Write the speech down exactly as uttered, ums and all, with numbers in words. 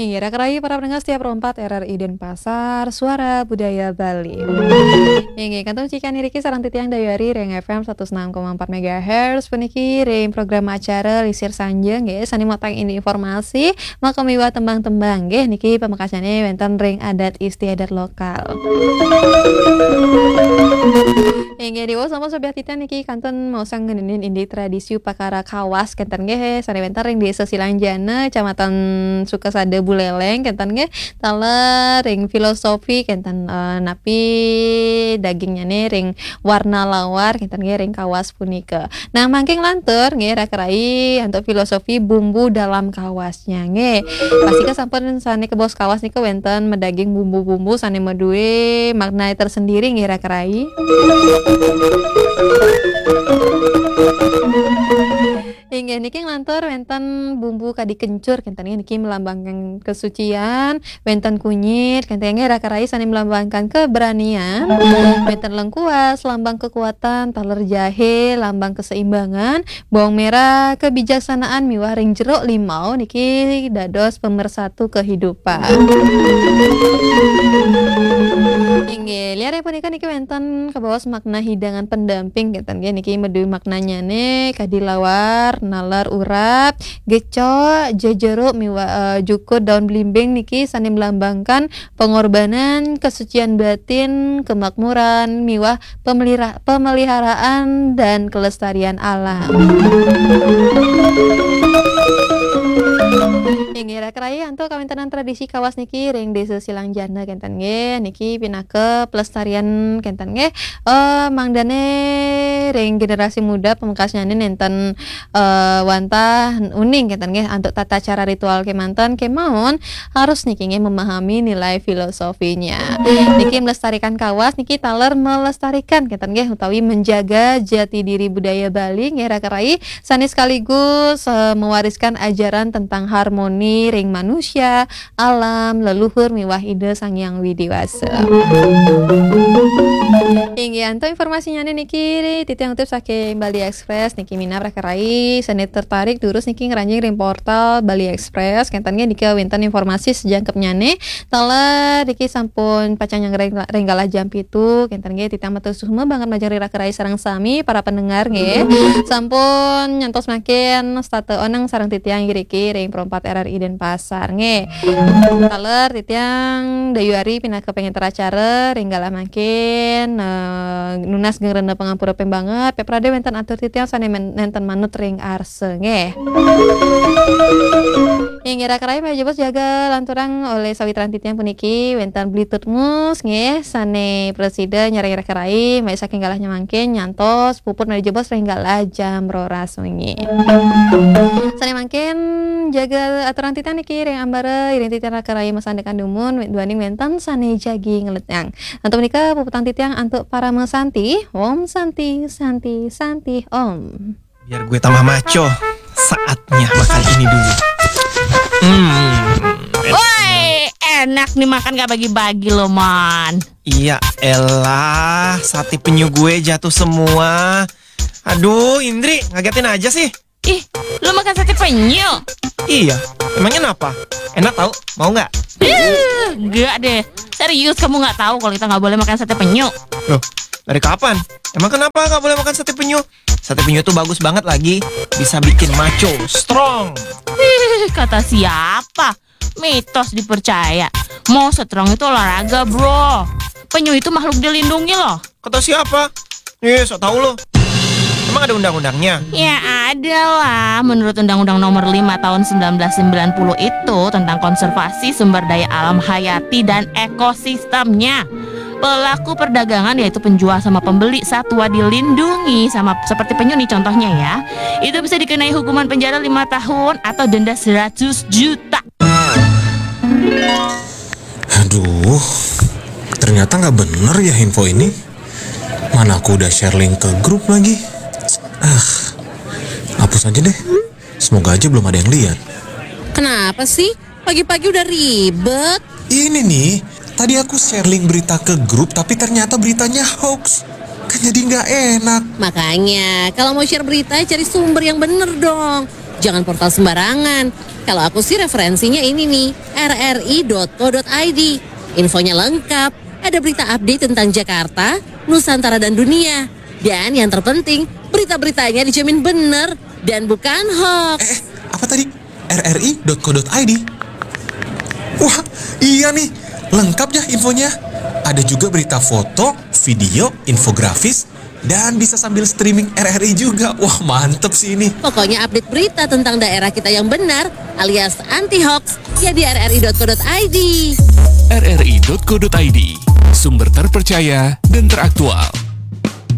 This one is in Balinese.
Inggih, raka rayi para pendengar setia Pro empat R R I Denpasar, Suara Budaya Bali. Inggih, kantun cikan iriki sareng titiang Dayuari ring F M satus enam koma empat megahertz puniki ring program acara Lisir Sanja nggih, sane matang ini informasi, maka miwah tembang-tembang nggih, niki pamekasane wenten ring adat istiadat lokal. Inggih, diwaos sampun sobiah titiang niki kantun maosang ngeninin indik tradisi upakara kawas kenten nggih, sane wenten ring Desa Silangjana, Kecamatan Sukasada Buleleng kenten nggih, taler ring filosofi kenten, eh, napi dagingnyane ring warna lawar kenten nggih ring kawas punika. Nah, mangkin lantur nggih raka rayi antuk filosofi bumbu dalam kawasnya nggih. Pastika sampun sane kabaos kawas nika wenten madaging bumbu-bumbu sane madue makna tersendiri nggih raka rayi. Inggih niki nglantur wenten bumbu kadi kencur kenten nggih, niki melambangkan kesucian, wenten kunyit kenten nggih raka rayi sane melambangkan keberanian, wenten lengkuas lambang kekuatan, taler jahe lambang keseimbangan, bawang merah kebijaksanaan miwah ring jeruk limau niki dados pemersatu kehidupan. Inggih, liare punika niki wenten kabaos makna hidangan pendamping kenten nggih, niki madue maknanyane kadi lawar, naler urap, gecok, jejeruk miwah, eh, jukud daun blimbing niki sane melambangkan pengorbanan, kesucian batin, kemakmuran miwah pemelira-, pemeliharaan dan kelestarian alam. Inggih raka rayi antuk kawentenan tradisi kawas niki ring Desa Silangjana kenten nggih, niki pinaka pelestarian kenten nggih. Eh, mangdane ring generasi muda pamekasnyane nenten, eh, wantah uning kenten nggih antuk tata cara ritual kemanten kemawon harus niki nggih memahami nilai filosofinya. Niki melestarikan kawas niki taler melestarikan kenten nggih utawi menjaga jati diri budaya Bali nggih raka rayi sane sekaligus, eh, mewariskan ajaran tentang harmoni ring manusia, alam, leluhur miwah Ida Sang Hyang Widi Wasa. Inggih antuk informasinyane niki titiang utip saking Bali Express niki minab raka rayi sane tertarik durus niki ngranjing ring portal Bali Express kenten nggih nika wenten informasi sajangkepnyane. Taler niki sampun pacang nyanggra ring galah jam pitu kenten nggih, titiang matur suksma banget majeng ring raka rayi sareng sami para pendengar nggih. Sampun nyantos mangkin setata oneng sareng titiang iriki ring Pro empat R R I Denpasar nggih. Taler titiang Dayuari pinaka pengenter acara ring galah mangkin, eh, nunas geng rena pangampura ping banget, peprade wenten atur titiang sane men-, nenten manut ring arsa nggih. Inggih raka rayi malih jebos jaga lanturang olih sawitran titiang puniki wenten Bli Tutmus nggih sane prasida nyarengin raka rayi malih saking galahnya mangkin nyantos puput malih jebos ring galah jam roras wengi. Sane mangkin jaga aturang titiang niki ring ambara iring titiang raka rayi masandekan dumun duaning wenten sane jagi ngeletang. Antuk menika puputang titiang antuk Parama Santi. Om Santi, Santi, Santi, Om. Biar gue tambah maco, saatnya makan ini dulu. Hmm. Woi, enak nih makan gak bagi-bagi loh, Man. Iya elah, sate penyu gue jatuh semua. Aduh, Indri, ngagetin aja sih. Ih, lu makan sate penyu? Iya, emangnya kenapa? Enak tau, mau nggak? Ih, enggak deh. Serius kamu nggak tahu kalau kita nggak boleh makan sate penyu? Loh, dari kapan? Emang kenapa nggak boleh makan sate penyu? Sate penyu tuh bagus banget lagi, bisa bikin maco, strong. Ih, kata siapa? Mitos dipercaya. Mau strong itu olahraga, bro. Penyu itu makhluk dilindungi loh. Kata siapa? Nih, sok tau lo. Emang ada undang-undangnya? Ya ada lah, menurut Undang-Undang Nomor lima Tahun sembilan belas sembilan puluh itu tentang konservasi sumber daya alam hayati dan ekosistemnya. Pelaku perdagangan yaitu penjual sama pembeli satwa dilindungi sama seperti penyu nih contohnya ya. Itu bisa dikenai hukuman penjara lima tahun atau denda seratus juta. Aduh, ternyata nggak bener ya info ini. Mana aku udah share link ke grup lagi. Ah, hapus aja deh. Semoga aja belum ada yang lihat. Kenapa sih? Pagi-pagi udah ribet. Ini nih, tadi aku share link berita ke grup tapi ternyata beritanya hoax. Kan jadi nggak enak. Makanya, kalau mau share berita, cari sumber yang bener dong. Jangan portal sembarangan. Kalau aku sih referensinya ini nih, rri.co.id. Infonya lengkap, ada berita update tentang Jakarta, Nusantara dan dunia. Dan yang terpenting, berita-beritanya dijamin bener dan bukan hoax. Eh, apa tadi? rri.co.id. Wah, iya nih, lengkap ya infonya. Ada juga berita foto, video, infografis, dan bisa sambil streaming RRI juga. Wah, mantep sih ini. Pokoknya update berita tentang daerah kita yang benar alias anti hoax ya di rri.co.id. rri.co.id, sumber terpercaya dan teraktual.